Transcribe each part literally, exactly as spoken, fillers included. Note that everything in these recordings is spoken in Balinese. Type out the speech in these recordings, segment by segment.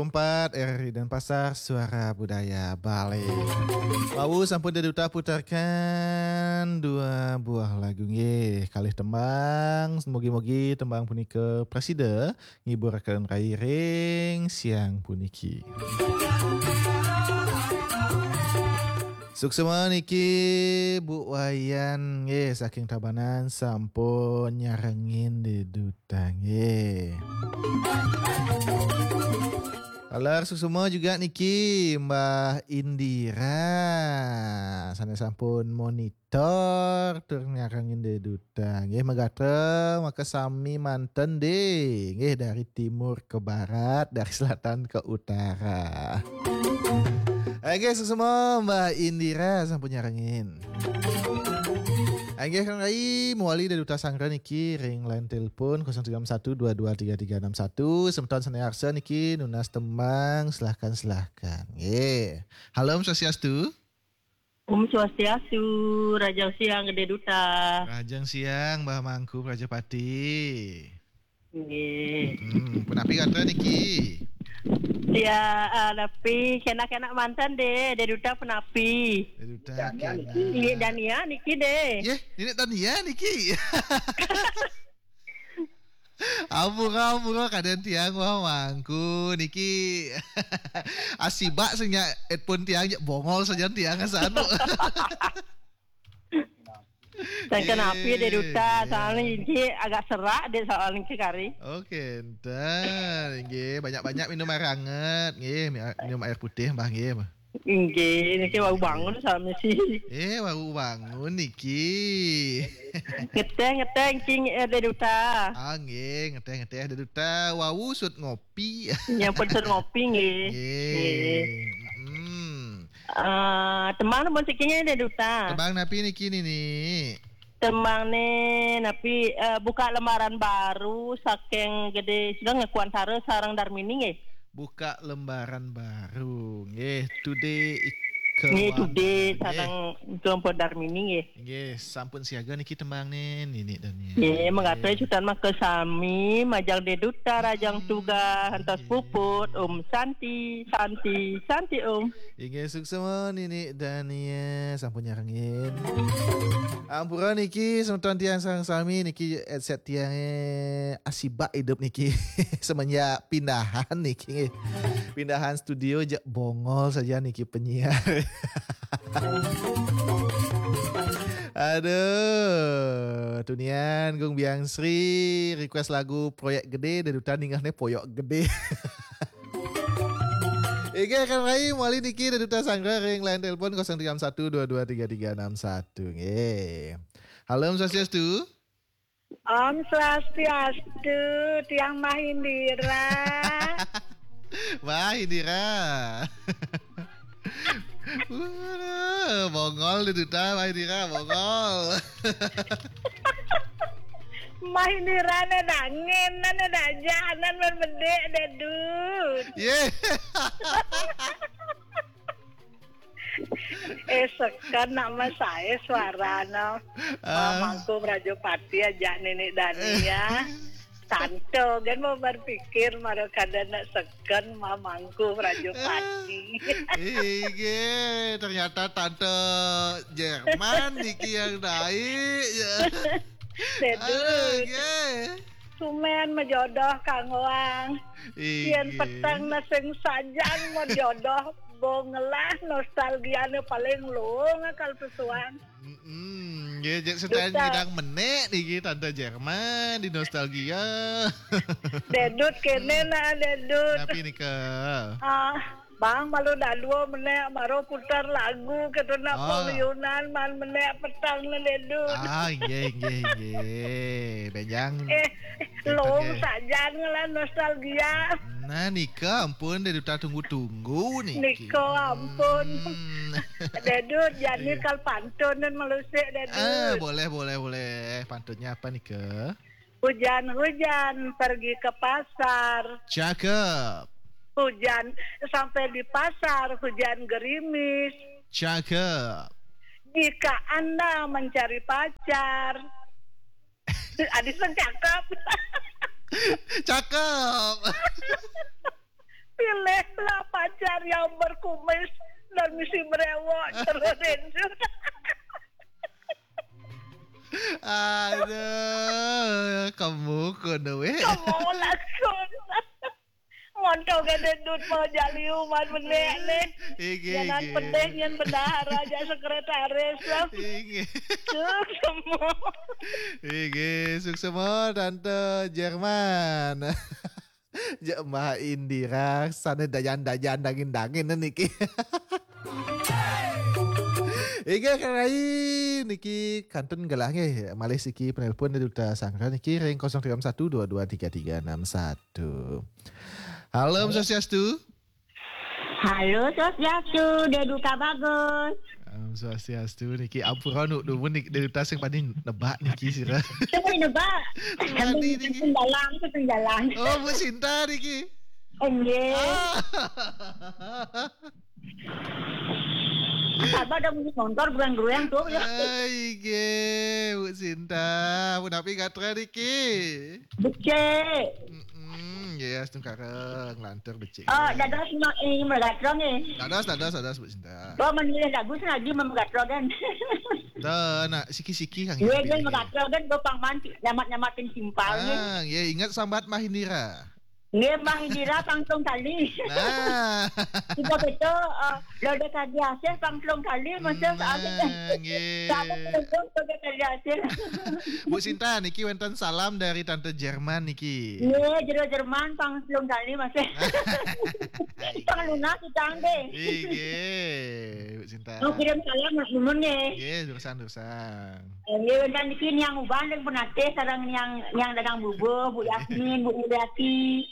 empat R R I Denpasar, Suara Budaya Bali. Wau sampun Dé Duta putarkan dua buah lagu nggih, kalih tembang. Mugi-mugi tembang punika prasida ngiburaken rai ring siang puniki. Suksma niki Bu Wayan nggih saking Tabanan sampun nyarengin Dé Duta nggih. Taler suksma juga niki Mbah Indira sané sampun monitor tur nyarengin Dé Duta nggih, magatra makasami manten Dé nggih, dari timur ke barat, dari selatan ke utara. Oke, suksma Mbah Indira sampun nyarengin. Inggih Kang Rai, mawali Dé Duta Sanggra niki ring line telepon kosong tiga enam satu dua dua tiga tiga enam satu. Semeton sané arsa niki nunas tembang, silahkan, silahkan. Nggih. Halo, Om Swastiastu. Om Swastiastu, rahajeng siang Dé Duta. Rahajeng siang Mbah Mangku Prajapati. Nggih. Hmm, punapi gatra niki? Ya, eh, napi kenak-kenak manten Dé, Dé Duta punapi? Dé Duta kenak. Nggih, Dania niki Dé. Yeh, Ninik Dania niki. Ampura, ampura, kadén tiang Mbah Mangku niki. Asibak sing nyak headphone tiang nyak bongol sajan tiang asa anu. Ten kenapi Dé Duta, soalnya ini agak serak Dé soalnya niki kari. Oke, enten. Nggih, banyak-banyak minum air hangat, nggih, mi-, minum air putih, Mbah, nggih, Mbah. Nggih, niki wau bangun sami sih. Eh, wau bangun niki. Ngeteh, ngeteh, niki, eh, Dé Duta. Ah, nggih, ngeteh, ngeteh, Dé Duta. Wau sut ngopi. Nyampun sut ngopi, nggih. Nggih. Nggih. Mm-mm. Eh, tembang napi niki, Dé Duta? Tembang napi niki, Nini? Tembang né napi, eh, buka lembaran baru saking Gedé Sugeng Kuantara sareng Darmini nggih. Buka lembaran baru nggih, Tudé Ika Nggih, Wanda, Tudé nggih. Sareng Kelompok Darmini nggih. Nggih, sampun siaga niki tembang né, Nini Dania. Nggih, mangga nggih. Sutan makasami, majeng Dé Duta, rahajeng Hmm, tugas, antos nggih. Puput, Om Santi, Santi, Santi Om. Inggih, suksma Nini Dania sampun nyarengin. Ampura niki semeton tiang sareng sami niki headset tiangé asibak idup niki. Semenjak pindahan niki. Pindahan studio jak bongol saja niki penyiar. Aduh, tunian Gung Biang Sri request lagu Proyek Gedé, Dé Duta ningehné Poyok Gedé. Inggih, Kang Rai, mawali niki Dé Duta Sanggra ring line telepon kosong tiga enam satu dua dua tiga tiga enam satu. Nggih. Halo, Om Swastiastu. Om Swastiastu, tiang Mbah Indira. Mbah Indira. Waduh, bongol Dé Duta, Mbah Indira, bongol. Mbah Indira né dangin, né dajanan men bedé Dé Dut. Yé. Eh, seken nak mas saé suarana. Ah. Mangku Prajapati ajak Ninik Dania. Tante, kan mau berpikir, mara kada nak seken, Mangku Prajapati. Inggih, ternyata Tante Jerman niki yang naik. Sedut. Aduh, nggih. Sumén majodoh kanggoang. Inggih. Yén peteng na sing sajan majodoh, bongelah nostalgiané paling luung akal pesuang. Mm-mm. Nggih, jek sedaya Duta. Nyidang menék niki Tante Jerman di nostalgia. Dé Dut kéné nah, Dé Dut. Napi nika? Ah, Bang, malu dadua menék mara putar lagu kéto nak ah. Pangayunan man menék peteng nah, Dé Dut. Ah, inggih, inggih, inggih. Bénjang. Eh, Lom sajan ngelah nostalgia. Nah, nika ampun, Dé Duta tunggu-tunggu niki. Nika ampun. Hmm. Dé Dut, jani iya. Kal pantun dan melusik, Dé Dut. Ah, boleh, boleh, boleh. Pantunnya apa nika? Hujan-hujan pergi ke pasar. Cakep. Hujan sampai di pasar, hujan gerimis. Cakep. Jika Anda mencari pacar, Adi sing cakep. Cakep. Pilihlah pacar yang berkumis dan misi brewok, terus itu. Aduh, kamu kono weh. Kamu langsung. Montong gede dut mau jaliu man benek nih. Iki, jangan iki. Pedih yang bendahara aja sekretaris lah. Iki. Tuh semua. Iki, suksema Tante Jerman. Jek Mbah Indira, sana dayan-dayan, dangin-dangin niki. Inggih, Kang Rai, niki kantun gelah nggih, malih siki penelpon dari Duta Sanggra niki ring kosong tiga enam satu dua dua tiga tiga enam satu. Halo, Om Swastiastu. Halo, Swastiastu, Deduta Bagus. Om Swastiastu, niki ampura nu dumun niki, Deduta sing paling nebak niki sira. Sing paling nebak. Wani niki. Sing dalang, sing dalang. Oh, Bu Sinta niki. Enggih. Ah. Sabar dah, bunyi motor, goyang-goyang tuh, ya. Ai, nggih, Bu Sinta. Punapi gatra niki? Becik. Mm-mm, nggih, astungkara nglantur becik. Oh, dados ma-, eh, megatro nggih. Dados, dados, dados, Bu Sinta. Oh, menilai lagu sengaja megatro kan. Tuh, nak siki-siki kang. Iya, nggih, megatro kan, gua pang manti, nyamat-nyamatin simpal nggih. Ah, nggih, ingat sambat Mbah Indira. Nggih, Mbah Indira pang telung kali. Nah. Kita betul, eh, lo ada kali hasil pang telung kali, maksud. Nah, nggih. Sama telung kali hasil. Bu Sinta, niki wonten salam dari Tante Jerman niki. Nggih, jero Jerman pang telung kali, maksud. Pang lunas utang deh. Nggih, Bu Sinta. Mau kirim salam, Mak Mumun nggih. Nggih, durusang, durusang. Eh, nggih, wonten niki Niang Uban ring Penatih, sareng Niang, Niang Dagang Bubuh, Bu Yasmin, Bu Mulyati,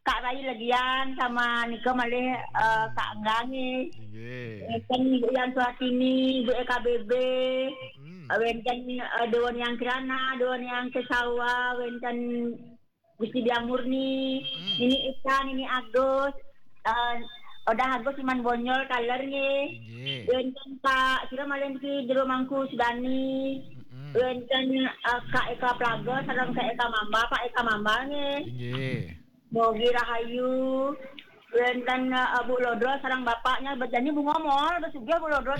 Kak Rai Legian, sama nika malih, eh, Kak Angga nggih. Nggih. Wonten Ibu Yan Suhatini, Ibu E K B B, hmm, eh, wonten, eh, Dewa Niang Kirana, Dewa Niang Kesawa, wonten Gusti Biang Murni, hmm, Nini Ika, Nini Agus, eh, Odah Agus Iman Bonyol, Taler nggih. Nggih. Wonten Pak, sira malih niki Jero Mangku Sudani. Hmm. Wonten, eh, Kak Eka Plaga, sareng Kak Eka Mamba, Pak Eka Mamba nggih. Nggih. Mogi Rahayu. Wonten, eh, Bu Lodro sareng bapaknya, berjanji Bu Ngomol, bersugih Bu Lodro.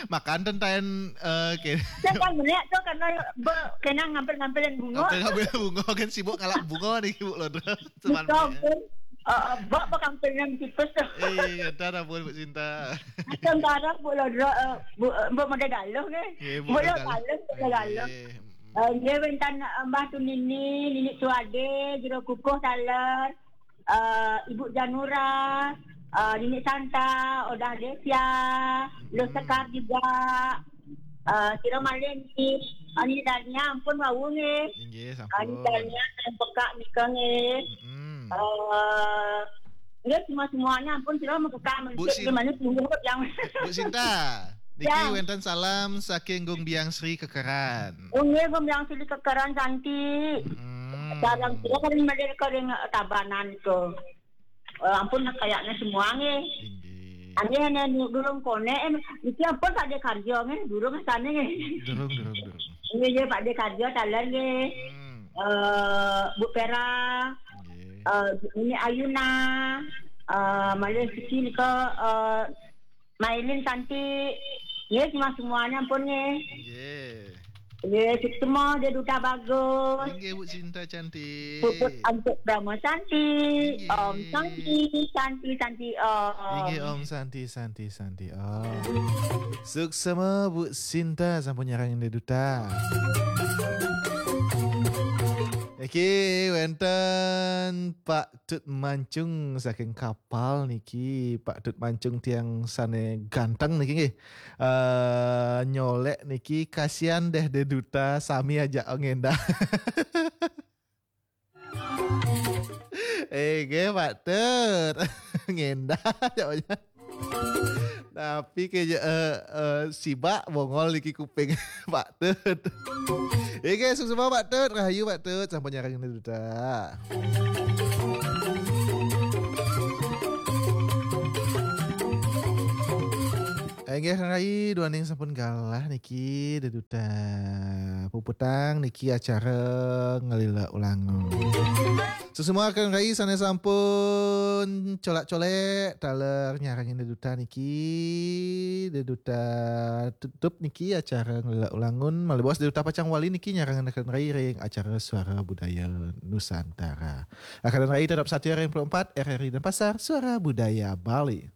Makan tentaen, eh, ke- Saya kan melihat tuh karena be-, kena ngampil-ngampilin bunga. Ngampil-ngampil bunga kan sibuk ngalap bunga nih, Bu Lodro. Cuman betul, ya. Pun, eh, eh, bak pekampilan tipis tuh. Iya, ntar ampun, Bu Sinta. Sementara Bu Lodro, eh, Bu, eh, Bu Mode Galuh nih. Iya, Bu Mode Galuh. Bu Lodro Galuh, Bu Lodro Galuh. Iya, mm. Eh, dia minta, eh, Mbah Tunini, Nini Suade, Jero Kukuh Taler. Eh, Ibu Janura, eh, Nini Santa, Odah Desia, Lo Sekar juga, eh, sira malih niki, eh, Nini Dania ampun wau nggih. Inggih, eh, Nini sampun. Dania yang peka nika nggih. Mm-mm. Eh, nggih, semua-semuanya ampun, sira mekekak Bu mencit Sin-, gimana sungguh yang Bu Sinta, niki ya. Wenten salam saking Gung Biang Sri Kekeran. Oh, nggih, Gung Biang Sri Kekeran cantik. Mm-mm. Sareng sira kan malih ring Tabanan to. Eh, ampun, kayaknya semua nggih. Inggih. Anggih, nek nu-, durung konek, eh, iki ampun Pak De Karjo nggih, durung sane nggih. Durung, durung, durung. Nggih, nggih, Pak De Karjo taler nggih. Hmm. Eh, Bu Pera, nggih. Eh, ini Ayuna, eh, malih siki nika, eh, Mailin cantik. Nggih, semua-semuanya ampun nggih. Nggih. Nggih, semua dia Duta Bagus. Inggih, Bu Sinta cantik. Puput Antuk Brahma cantik. Inggih. Om Santi, Santi, Santi, Om. Inggih, Om Santi, Santi, Santi, Om. Suksema Bu Sinta sampun nyarengin Duta. Iki wenten Pak Tut Mancung saking Kapal niki, Pak Tut Mancung tiang sane ganteng niki nggih. Eh, nyolek niki, kasihan deh De Duta, sami aja ngendah. Eh, nggih, Pak Tut. Ngendah aja. Tapi kayaknya, eh, eh, sibak bongol niki kuping, Pak Tut. Oke, sukses Pak Tut, rahayu Pak Tut, sampun nyarengin Duta. Inggih, rakan rai, duaning sampun galah niki deduta puputang niki acara Ngelila Ulangun. Sesemua rakan rai sane sampun colak-colek taler nyarengin deduta niki, deduta tutup niki acara Ngelila Ulangun, malih bos deduta pacang wali niki nyarengin rakan rai ring acara Suara Budaya Nusantara. Rakan rai tetap satia ring empat R R I Denpasar, Suara Budaya Bali.